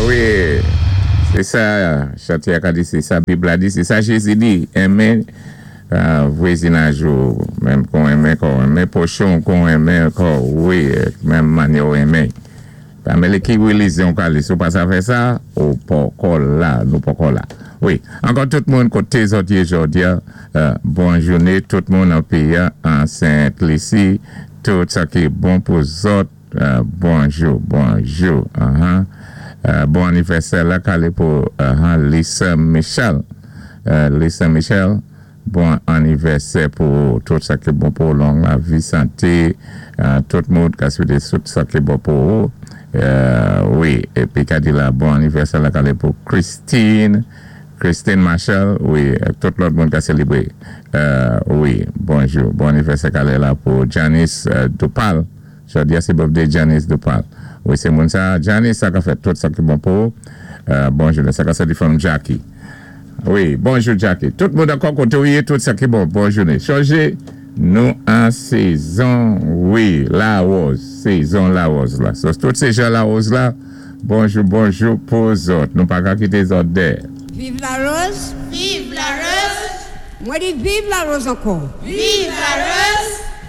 Wi, sé sa chanté a ka di, sé sa Bib la di, sé sa Jézi di, Enmen vwezinaj ou menm kon w enmen kò w, enmen pwochen w kon w enmen kò w, wi, menm mannyè w enmen. Pa mélé ki relijyon w ka li, si w pa sa fè sa, ou pòkò la, nou pòkò la. Wi, ankò tout moun koté zòt yé jòdi a, bon jouné tout moun an péyi a, an Sent Lisi, tout sa ki bon pou zòt. Bonjou bonjou ahan bon anivèsè la kale pou ahan Lisa Michel Lisa Michel bon anivèsè pou ou tout sa ki bon pou ou long lavi sante tout moun ka swete tout sa ki bon pou ou wi epi ka di la bon anivèsè la kale pou Christine Christine Marshall wi ak tout lòt moun ka selebre wi bonjou bon anivèsè kale la pou Janice Dupal. Jodi a se birthday Janice Dupal wi se moun sa Janice sa ka fè tout sa ki bon pou ou bon jounen sa ka sòti from Jacky wi bonjou Jacky tout moun ankò kote ou ye tout sa ki bon bon jounen chonje nou an sezon wi lawòz sezon lawòz la so tout se jan lawòz la bonjou bonjou pou zòt nou paka kite zòt dèyè. Viv Larose! Viv Larose! Mwen di viv Larose ankò! Viv Larose!